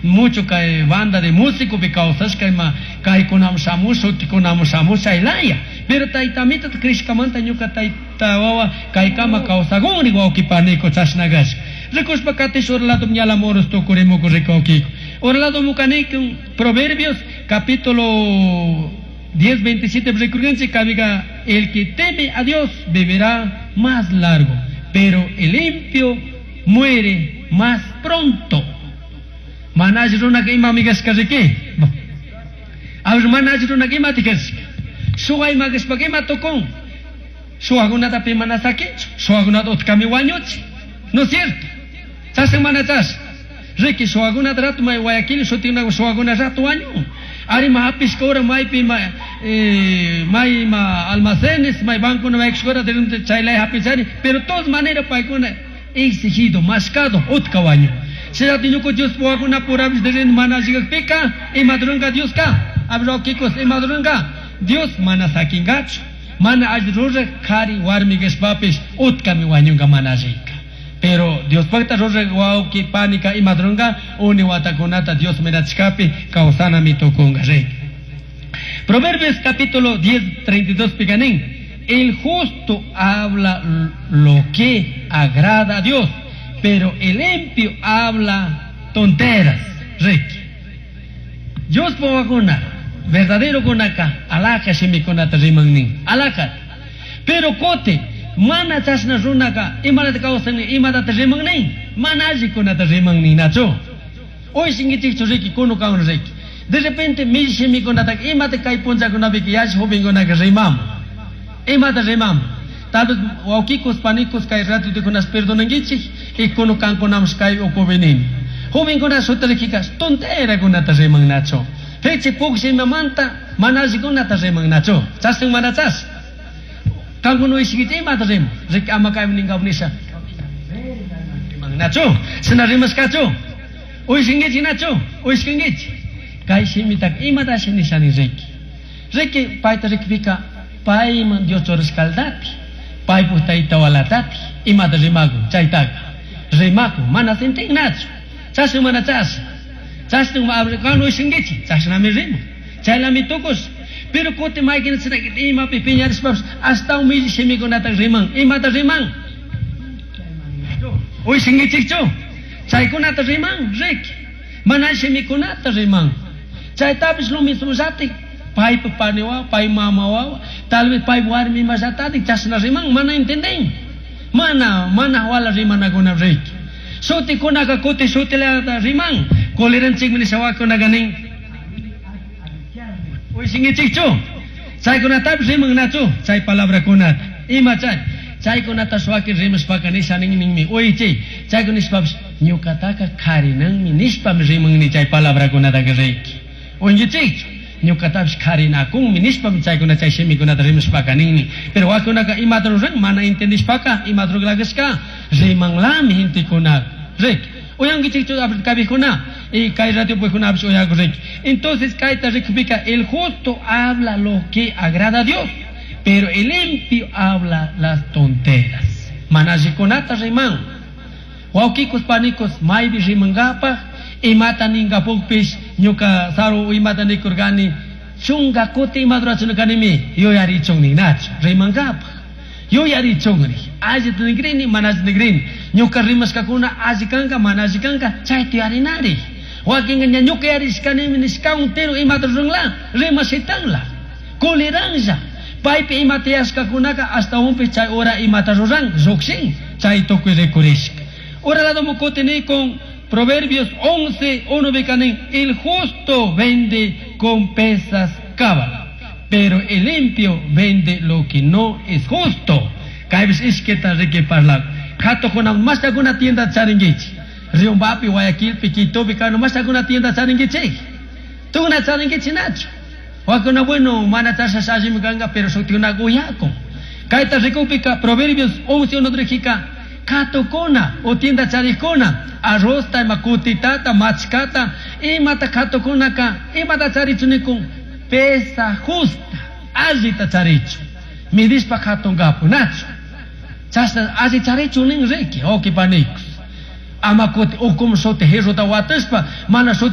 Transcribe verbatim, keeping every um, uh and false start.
Mucho kay banda de músico pi kawsashka ima kaykunamun shamush shutikunamun shamush chaylaya. Pero tayta amito crishkamanta ñuka tayta wawa kaykama kawsakunri wawqi paniko chashna kashka. Rikushpa katish ura lado ñala moros tukurimuku rikuwkiko. Ura lado mukanikun Proverbios capítulo diez veintisiete rikurkanchik kaypika el que teme a Dios vivirá más largo, pero el impío muere más pronto. Mana alli runaka imami kashka riki. A ver, mana alli runaka imati kashka. Shuwa ima kashpaka ima tukun. Shuwakunata pi mana sakinchu. Shuwakunata utkami wañuchi. ¿No es cierto? Chashan mana chashan. Riki shuwakunata rato may Guayaquil shutikuna shuwakuna rato wañun. Ari ma hapishka hora maypi ma, eh, may ma almacenes, may bancuna may hora chaylay hapichari, pero todas maneras paykuna exigido, mascado, utka wañun. Shinati ñuka Dios wawakuna purapish de mana alli ima ruranka Dioska, abro kikos ima ruranka Dios mana sakingachu, mana alli ruraj kari warmi kashpapish utkami wañunka mana allika. Pero Dios pacta ruraj wawqi panika ima ruranka uni watakunata Dios mirachkapi kawsanami tukunka rey. Proverbios capítulo diez, treinta y dos picanín. El justo habla lo que agrada a Dios, pero el impío habla tonteras. Ricky. Dios wawakuna, verdadero kunaka, alaka shimikunata rimannin, alaka. Pero kote, mana chashna runaka, imanata kawsani, imatata rimannin, mana allikunata rimannin, nacho. Hoy shingichikchu Ricky, kunu kaun Ricky. De repente, mi shimikunata, imata kay punchakunapika yash jovenkunaka rimamu. Imata rimamu. Tal vez wawkikos, panikos, kay ratitukunas perdonankichik, y kunu kankunamos kay ukubenini. Jovenkuna sutarikikas, tonterakunata riman nacho. Fechi pukshi imamanta, mana allikunata riman nacho. Chashan mana chas. Kankuna ishikita imata riman. Riki ama kay ninkaw nisha. Riman nacho. Shina rimashkachu. Uyshinkichik nacho. Uyshinkichik. Kay shimitaka imatashi nishani riki. Riki payta rikpika payman Dios churashkaldati. Paypuk tayta walatati. Imata rimakun chaytaka. Rimakun mana sintinnachu. Chashna mana chashna. Chashna kan uyshinkichik. Chashnami riman. Chaylami tukush. Pero kuti maykina chinakita imapi piñarishpapish hasta humilli shimikunata riman. Imata riman. Uyshinkichikchu. Chaykunata riman, riki. Mana shimikunata riman. Chaytapish lo mismo llatik. Paypa pani wawa, pay mama wawa, tal vez pay warmi imallatatik chashna riman, mana entenden. Mana, mana wala rimanakuna riki. Shutikunaka kuti shutilata riman. Koleranchikmi nisha wakunaka nin. Uyshinkichikchu. Chaykunatapish rimannachu chay palabrakunata. Ima chay. Chaykunata shuwaki rimashpaka nisha nin ninmi. Uychi. Chaykuna nishpapish ñukataka karinanmi nishpami rimanni chay palabrakunataka riki. Uynkichikchu. Ñukatapish karinakunmi nishpami chaykuna chay shimikunata rimashpaka ninmi. Pero wakunaka imata ruran mana entendishpaka imata rurashka rimanlami gentekunaka. Riki. Uyankichikchu kabijkuna y kay radio puykunapish uyaku riki. Entonces kayta rikupika el justo habla lo que agrada a Dios, pero el impío habla las tonteras. Mana allikunata riman. Wawkikos panikos maypi rimankapaj imata ninkapukpish ñuka saru imata nikurkani chunka kuti imata rurachunkanimi yuyarichun ninachu rimankapaj. Yuyarichunri. Allita nikrini mana allita nikrini. Ñuka rimashkakuna alli kanka mana alli kanka chayta yuyarinari. Wakinka ña ñuka yarishkanimi nishka entero imata ruranla rimashitanla. Kuliranlla. Paypi imata yashkakunaka hasta unpi chay hora imata ruran llukshin chay tukuy rikurishka. Ura lado mukutini con Proverbios once, uno bikanin, el justo vende con pesas cábala, pero el limpio vende lo que no es justo. Kaypish ishkita riki parlak. Katukuna mas alguna tienda charingichi. Riombapi, Guayaquilpi, Quitopi, kano mas alguna tienda charingichi. Tuna charingichi nacho. Wakuna bueno, mana chasha shashimi ganga, pero shuktiuna guyako. Kayta rikupika, Proverbios once, uno rijika, katukuna, o tienda charikuna, arroz ta, makutitata, machkata, imata katukunaka, imata charichunikun, pesa justa, allita charichu. Midishpa katungapu, nacho. Chashna alli charichu nin riki, oki panikos. Ama kuti ukum shuti hirruta watashpa, mana shuti